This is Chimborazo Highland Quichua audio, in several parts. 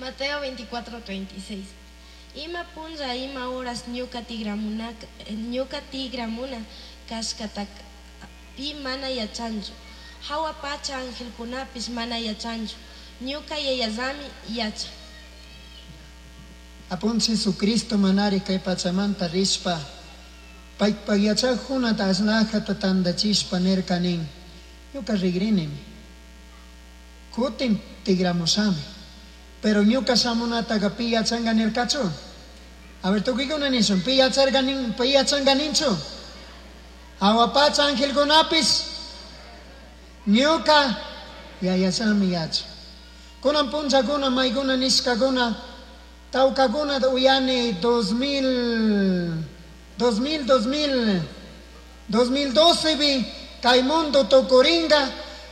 Mateo 24:36. Ima punlla, ima horas ñuca tigramuna cashcataca pi mana yachanchu. Jahua pacha angelcunapish mana yachanchu. Ñuca Yayallami yachan. Apunchij Jesucristo manari kay pachamanta rishpa paypaj yachajkunata ashlajata tandachishpa nirka nin: ñuka rigrinimi, kutin tigramushami, pero ñuka shamunataca pi yachanga nirkachu? A ver, tukuykuna nishun, pi yacharka nin, pi yachanga ninchu? Jahua pacha angelkunapish ñuka Yayallami yachan. Kunan punllakuna maykuna nishkakuna tawkakuna uyani 2000 2000 2000 2012 bi kay mundo tukuringa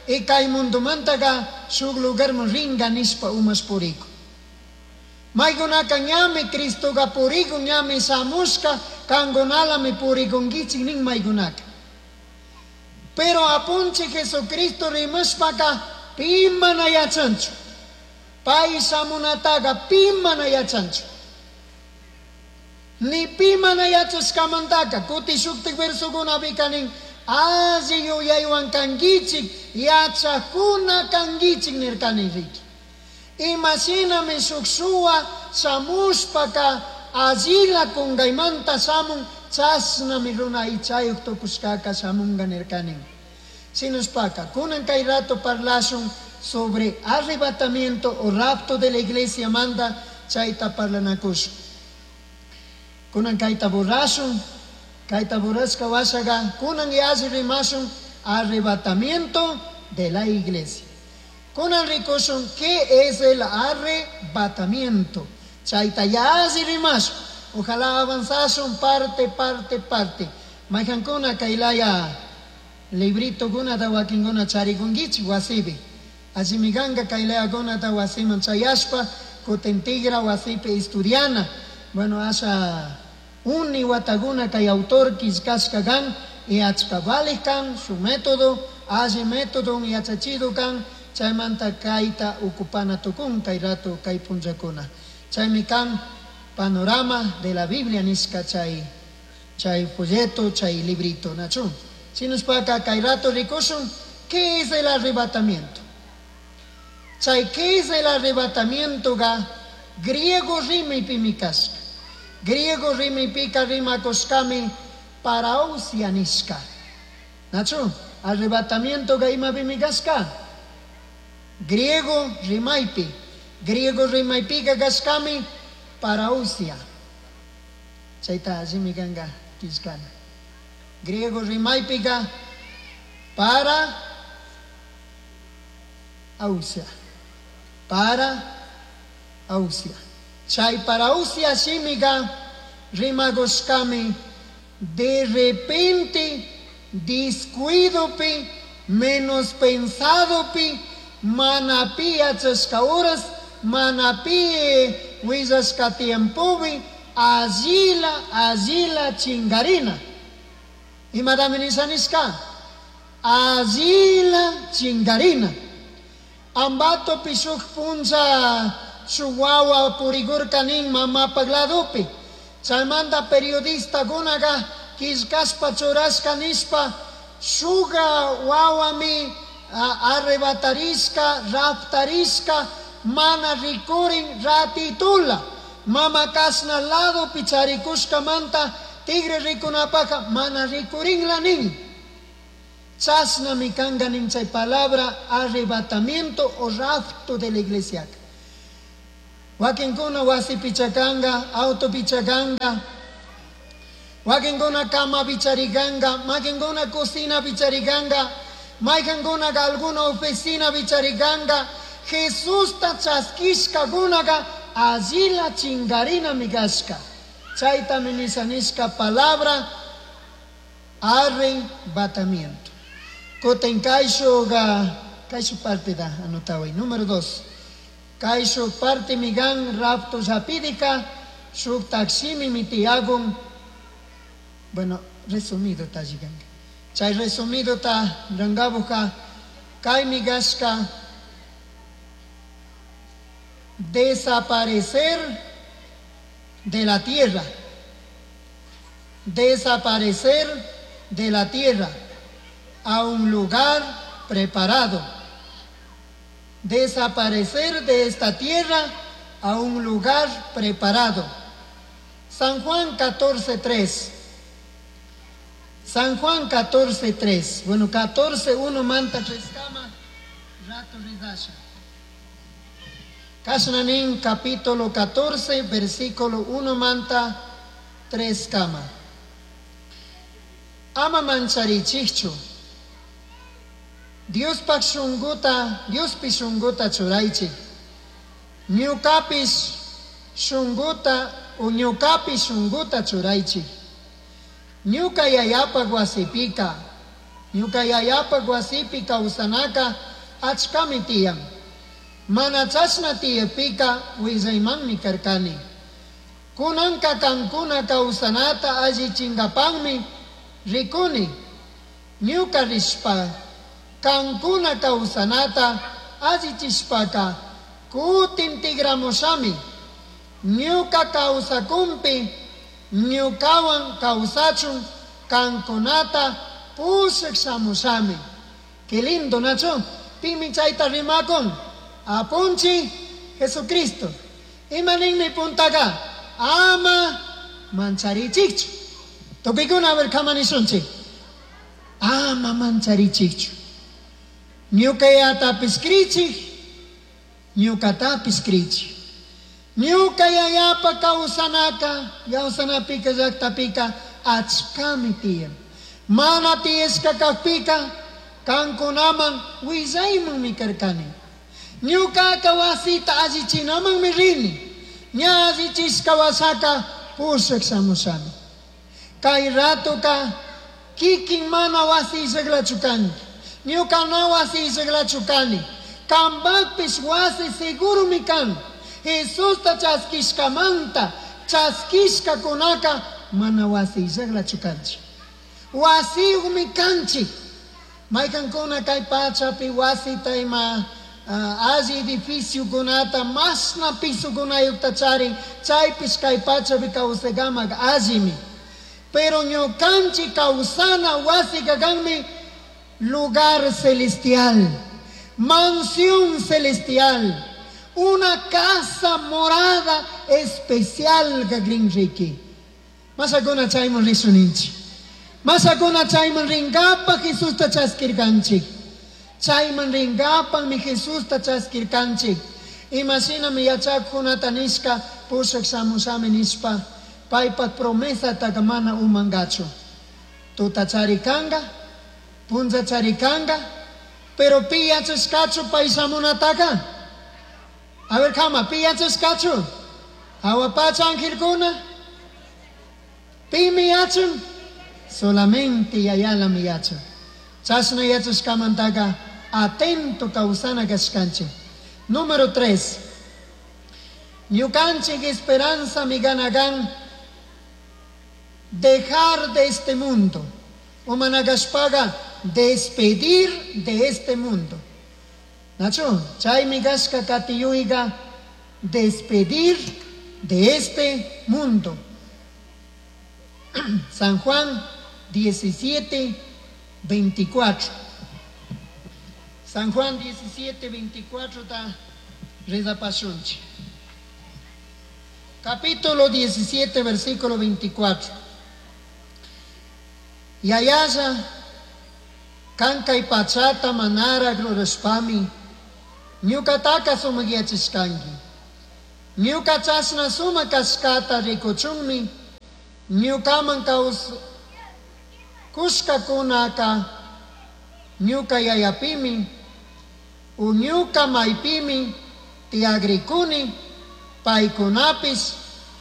y kay mundomantaka shuk lugarman ringa nishpa umash puriku. Maykunaka ñami Cristoka purikun, ñami shamushka, kankunalami purikunkichik nin maykunaka. Pero apunchik Jesucristo rimashpaka pi mana yachanchu. Pay shamunataka pi mana yachanchu. Ni pi mana yachashkamantaka kuti shuktik versokunapika nin alli yuyaywan kankichik, yachakuna kankichik nirkani riki. Imashinami shuk shuwa shamushpaka allila kunkaymanta shamun, chashnami runa aychayuq tukushkaka shamunga nirkani. Shinashpaka kunan kay rato parlashun sobre arrebatamiento o rapto de la iglesia manda chayta parlanakushun. Kunan kayta borrashun, kayta borrashka washaga kunan yalli rimashun arrebatamiento de la iglesia. Kunan rikushun ¿qué es el arrebatamiento? Chayta yalli rimashun. Ojalá avanzashun parte, parte, parte. Mayhankuna kaylaya librito kunata wakinkuna charikunkichik wasipi. Allimi kanka kaylayakunata wasiman chayashpa kutin tigra wasipi estudiana. Bueno, asha uni watakuna kay autor killkashka kan y achka valij kan su método, alli método yachachido kan, chaymanta kayta ocupana tukun kay rato kay punllakuna. Chaymi kan panorama de la Biblia nishka chay, chay folleto, chay librito, nachu. Shinashpaka kay rato rikushun, ¿qué es el arrebatamiento? Chay, ¿qué es el arrebatamiento? Ga griego rimaypimi kashka. Griego rimaypika rimakushkami parausia nishka. Nachu, arrebatamiento ga imapimi kashka. Griego rimaypi. Griego rimaypika kashkami parausia. Chayta allimi kanka killkana. Griego rimaypika para ausia. Para ausia. Chay parausia shimiga rimagoshkami de repente descuidopi menos pensadopi manapi yachashka horas manapi willashka tiempopi allila allila chingarina. Imatami nisha nishka? Allila chingarina. Ambato shuk punlla shuk wawa purigurka nin mamapaj ladopi. Chaymanta periodistakunaqa killkashpa churashka nishpa shuka wawami arrebatarishka, raptarishka, mana rikurin ratitula. Mama kashna ladopi charikushkamanta tigre rikunapaka mana rikurinla nin. Chashnami kanka nin chay palabra arrebatamiento o rapto de la iglesia. Wakinkuna wasi pichakanga, auto pichakanga, wakinkuna cama picharikanga, wakinkuna cocina picharikanga, maykankuna alguna oficina picharikanga. Jesusta chaskishkakunaka allila chingarina mikashka. Chaytami nisha nishka palabra arrebatamiento. Kutin kayshuqa kayshu parte da anotaway. Número 2. Kayshu parte migan rapto rapidika shuk taximi mitiagun. Bueno, resumido ta llegando. Chay resumido ta rangabuka kay migashka. Desaparecer de la tierra. Desaparecer de la tierra a un lugar preparado. Desaparecer de esta tierra a un lugar preparado. San Juan 14:3. San Juan 14:3. Bueno, 14:1 manta tres kama rato rizasha. Kashnanin capítulo 14, versículo 1 manta 3 kama. Ama mancharichikchu. Diospaj shunguta, Diospi shunguta churaichik. Ñukapish shunguta o ñukapi shunguta churaichik. Ñuka yayapaj wasipika, ñuka yayapaj wasipi kawsanaka achkami tiyan. Mana chashna tiyapika willaymanmi karkani. Kunanka kankuna kawsanata allichinkapakmi rikuni. Ñuka rishpa kankuna kawsanata allichishpaka kutin tigramushami. Ñuka kawsakunpi ñukawan kawsachun kankunata pushak shamushami. Qué lindo, Nacho. Pimi chayta rimakun. Apunchi Jesucristo. Imaninmi puntaka. Ama mancharichikchu. Tupikuna a ver kamanishunchik. Ama mancharichikchu. Ñuka yayatapis krichik. Ñukatapis krichik. Ñuka yayapa kawsanaka, kawsanapika llaktapika achkami tiyan. Mana tiyashka kakpika kankunaman willaymanmi karkani. Ñukaka wasita allichinamanmi rini. Ña allichishka wasaka pushak shamushami. Kay ratoka kikin mana wasi llaklachu kanki. Ñuka na wasi llaklachu kani. Kambakpish wasi segurumi kan. Jesusta chaskishkamanta chaskishkakunaka mana wasi llaklachu kanchik. Wasiyuqmi kanchik. Maykankuna kay pachapi wasita ima alli edificiokunata mashna pisokunayuqta charin, chaypish kay pachapi kawsaykamak allimi. Pero ñukanchik kawsana wasika kanmi lugar celestial, mansión celestial, una casa morada especial gagrinriki. Masakuna chayman risuninchik. Masakuna chayman rinkapaq Jesusta chaskirkanchik. Chayman rinkapaqmi Jesusta chaskirkanchik. Imashinami yachaqkunata nishka pushak shamushami nishpa paypaq promesataka mana umangachu. Tutachari kanga, punchachari kanga, pero pi yachashkachu pay shamunataka. A ver, kama, pi yachashkachu. Hawa pacha angelkuna. Pimi yachan. Solamente yayalami yachan. Chashna yachashkamantaka atento kawsana kashkanchik. Número 3. Ñukanchik esperanza miganagan dejar de este mundo. Umanagashpaga despedir de este mundo. Nacho, chay migashka katiyuiga despedir de este mundo. San Juan 17, 24. San Juan 17, 24 ta rezapashunchi. Capítulo 17, versículo 24. Yayaya, kankay pachata manara rurashpami, ñukataka sumakyachishkanki. Ñuka chashna sumak kashkata rikuchunmi, ñukaman kushkakunaka ñuka yayapimi, u ñuka maypimi tiagrikuni, paykunapis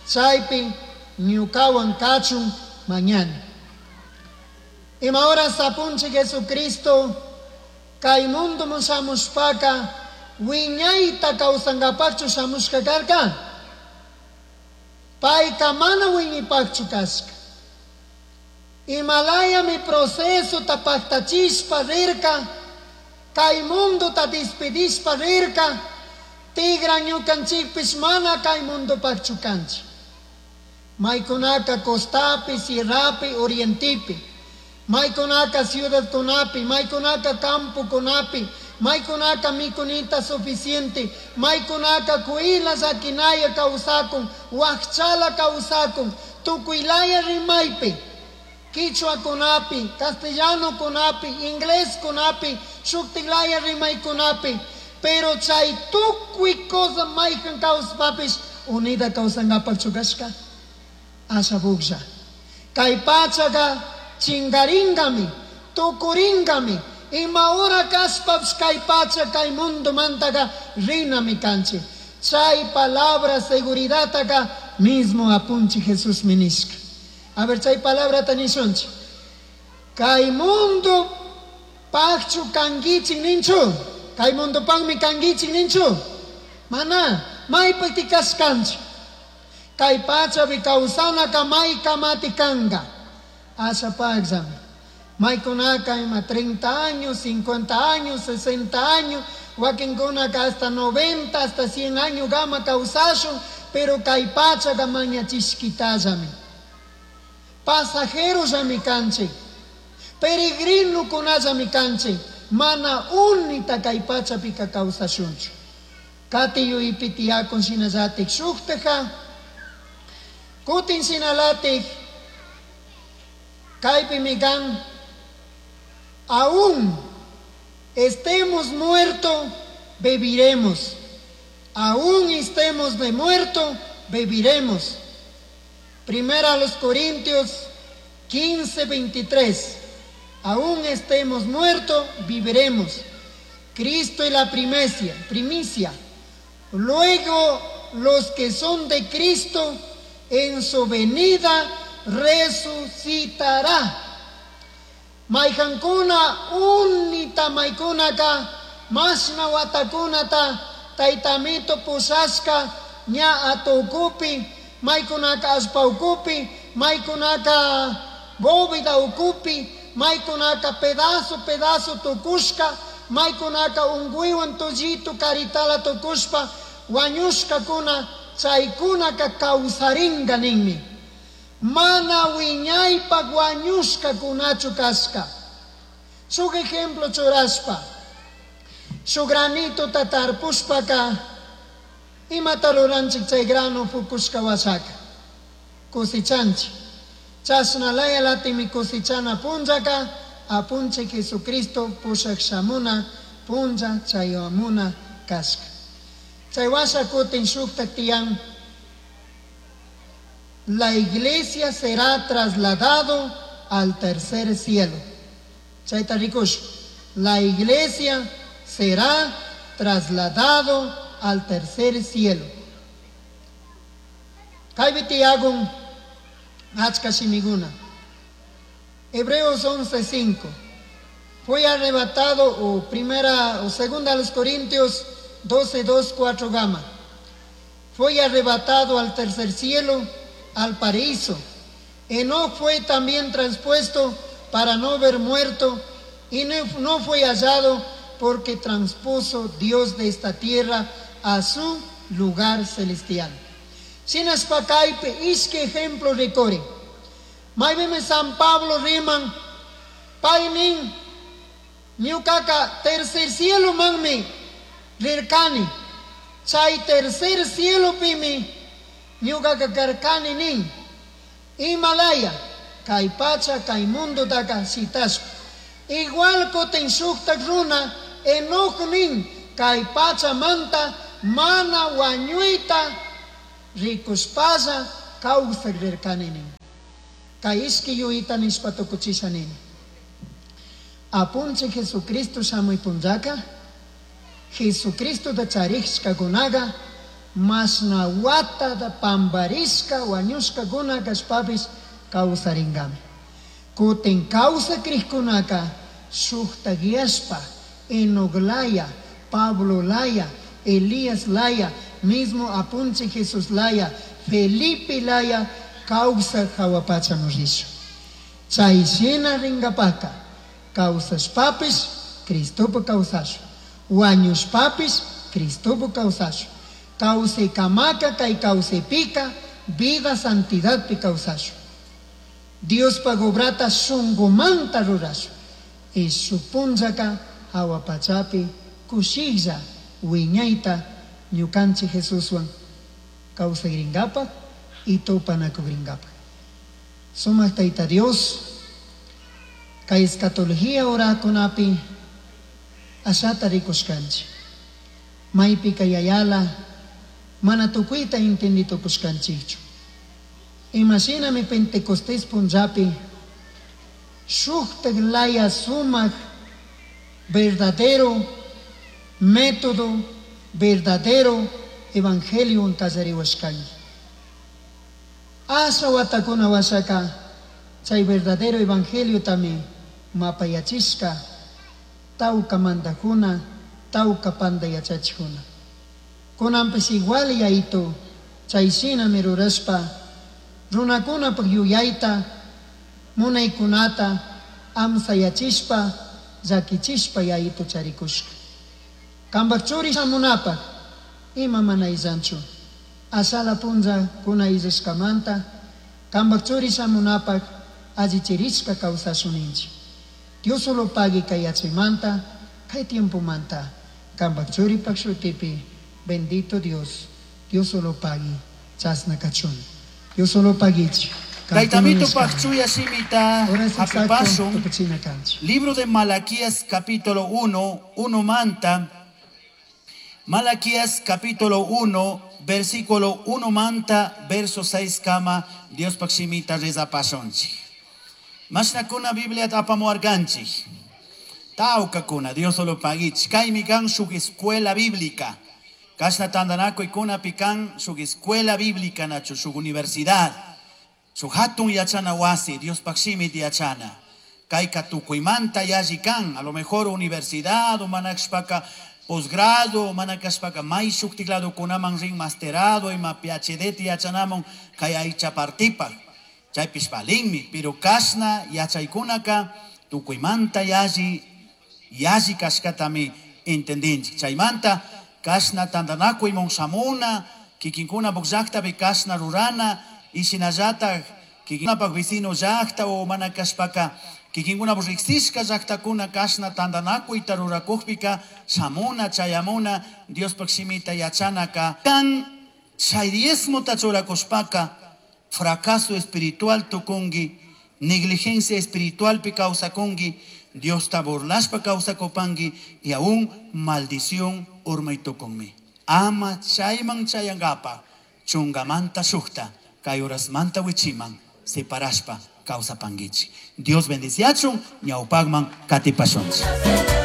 chaypi ñukawan kachun mañana. Ima horas apunchik Jesucristo kay mundo shamushpaka wiñayta kawsankapaqchu shamushka karka. Payka mana wiñaypaqchu kashka. Imalayami proceso tapaktachishpa rirka, kay mundo ta despedishpa rirka, Tigran ñukanchikpish mana kay mundupaqchu kanchik. Maykunaka costapi, sierrapi, orientepi. Maykunaka ciudadkunapi, maykunaka campokunapi, maykunaka mikunita suficiente, maykunaka kuyla llakinaya kawsakun, wakchala kawsakun, tukuylaya rimaypi, quichuakunapi, castellanokunapi, ingleskunapi, shuktiklaya rimaykunapi, pero chay tukuy cosa mayhan kawspapish unida kawsankapaqchu kashka, asha. Kay pachaqa chingaringami, tukuringami, ima hora kashpapish kay pacha kay mundomantaka rinami kanchik. Chay palabra seguridadtaqa mismo apunchik Jesusmi nishka. A ver, chay palabrata nishunchik. Kay mundo paqchu kankichik ninchu. Kay mundopaqmi kankichik ninchu. Mana, maypaqti kashkanchik. Kay pachapi kawsanaka may kamati kanka. Ashapaqllami. Maykunaka ima 30 años, 50 años, 60 años, wakinkunaka hasta 90, hasta 100 años gama kawsashun, pero kay pachaka mañachishkitallami. Pasajerollami kanchik, peregrinokunallami kanchik, mana unita kay pachapika kawsashunchu. Kati yuypi tiyakun shinallatik shuktaja, kutin shinalatik, kaypimi kan, aún estemos muerto, viviremos. Aún estemos de muerto, viviremos. Primera a los Corintios 15, 23. Aún estemos muertos, viviremos. Cristo es la primicia. Luego los que son de Cristo en su venida resucitará. Mayhankuna unita maykunaka mashna watakunata taytamito pushashka ña atukupi maykunaka allpa ukupi maykunaka bóveda ukupi maykunaka pedazo pedazo tukushka maykunaka unkuywan tullitu karitala tukushpa wañushkakuna chaykunaka kawsarinka ninmi. Mana wiñaypaq wañushkakunachu kashka. Shuk ejemplo churashpa, shuk granitota tarpushpaka imata ruranchik chay grano fukushka washaka cosechanchik. Chashna laya latimi cosechana punllaka apunchik Jesucristo pushak shamuna punlla chayamuna kashka. Chay washa kutin shuktak tiyan. La iglesia será trasladado al tercer cielo. Chayta rikush. La iglesia será trasladado al tercer cielo. Kaypi tiyakun achka shimikuna. Hebreos 11:5. Fue arrebatado, o primera o segunda a los Corintios 12, 2, 4 gama. Fue arrebatado al tercer cielo, al paraíso. Enoc fue también transpuesto para no ver muerto, y no fue hallado porque transpuso Dios de esta tierra a su lugar celestial. Shinashpa kaypi ishki ejemplo rikuri. Maypimi San Pablo riman, paynin ñukaka tercer cielo manmi rirkani. Chay tercer cielo pimi ñukaka karkani nin. Himalaya, kay pacha, kay mundotaka shitashpa. Igual kutin shuktak runa Enoc nin, kay pachamanta mana wañuyta rikushpalla kawsak rirkani nin. Kay ishki yuyita nishpa tukuchisha nini. Apunchik Jesucristo shamuy punllaka, Jesucristota charishkakunaqa mashna watata pamparishka wañushkakuna kashpapish kawsarinkami. Kutin kawsakriqkunaka shuktakyashpa Enoc laya, Pablo laya, Elías laya, mismo apunchik Jesús laya, Felipe laya, kawsak hawa pachaman rishun. Chay shina rinkapaka kawsashpapish Cristopa kawsashun, wañushpapish Cristopu kawsashun. Kawsaykamaka kay kawsaypika vida santidadpi kawsashun. Diospaj obrata shunkumanta rurashun. Y shuk punllaka hawa pachapi kushiklla wiñayta ñukanchik Jesuswan kawsayrinkapaj y tupanakukrinkapaj. Sumak Tayta Dios, kay escatología orakunapi ashata rikushkanchik. Maypika yayala mana tukuyta entenditukushkanchikchu. Imashinami Pentecostés punllapi shuktak laya sumak verdadero método, verdadero evangelio kallariwashkanki. Asha watakuna washaka chay verdadero evangelio tami mapayachishka tawka mandajuna, tawka panda yachachikuna. Kunanpish igual yaytu chay shinami rurashpa runakunapaj yuyayta munaykunata amsayachishpa llakichishpa yayitu charikushka. Kanpak churi shamunapaj ima mana illanchu. Ashala punlla kuna illashkamanta kanpak churi shamunapaj allichirishka kawsashuninchik. Dios solo pagui kay yachaymanta kay tiempomanta kanpak churipak shutipi bendito Dios, Dios solo pagui chasna kachun. Dios solo paguichik. Taytamito Pakchuya Shimita Hapipasun. Libro de Malaquías capítulo 1, 1 manta. Malaquías capítulo 1, versículo 1 manta, verso 6 kama, Dios pakshimita reza pasonchi. Mashnakuna Biblia apamuarganchik. Tawkakuna, Dios solo paguich. Kaymi kan shuk escuela bíblica. Kashna tandanakuykuna pikan shuk escuela bíblica nachu, shuk universidad. Shuk hatun yachana wasi, Dios pakshimit yachana. Kayka tukuymanta yalli kan, a lo mejor universidad, o manakshpaka posgrado, manakashpaka may shuktiklado kunaman rin masterado, ima PhD yachanamun kay aycha partipaj. Chaypish valinmi, pero kashna yachaykunaka tukuymanta yalli, yalli kashkatami entendinchik. Chaymanta kashna tantanakuymun shamuna, kikinkuna llaqtapi kashna rurana, y shinallatak kikinkunapak vecino llaqta o mana kashpaka kikinkunapak riqsishka llaqtakuna kashna tantanakuyta rurakukpika shamuna chayamuna Diospak shimita yachanaka. Kan chay diezmota churakushpaka fracaso espiritual tukunki, negligencia espiritualpi kawsakunki, Diosta burlashpa kawsakupanki y aún maldición urmay tukunmi. Ama chayman chayankapa chungamanta shukta kay horasmanta wichiman separashpa kawsapankichik. Dios bendiciachun ñawpakman katipashunchik.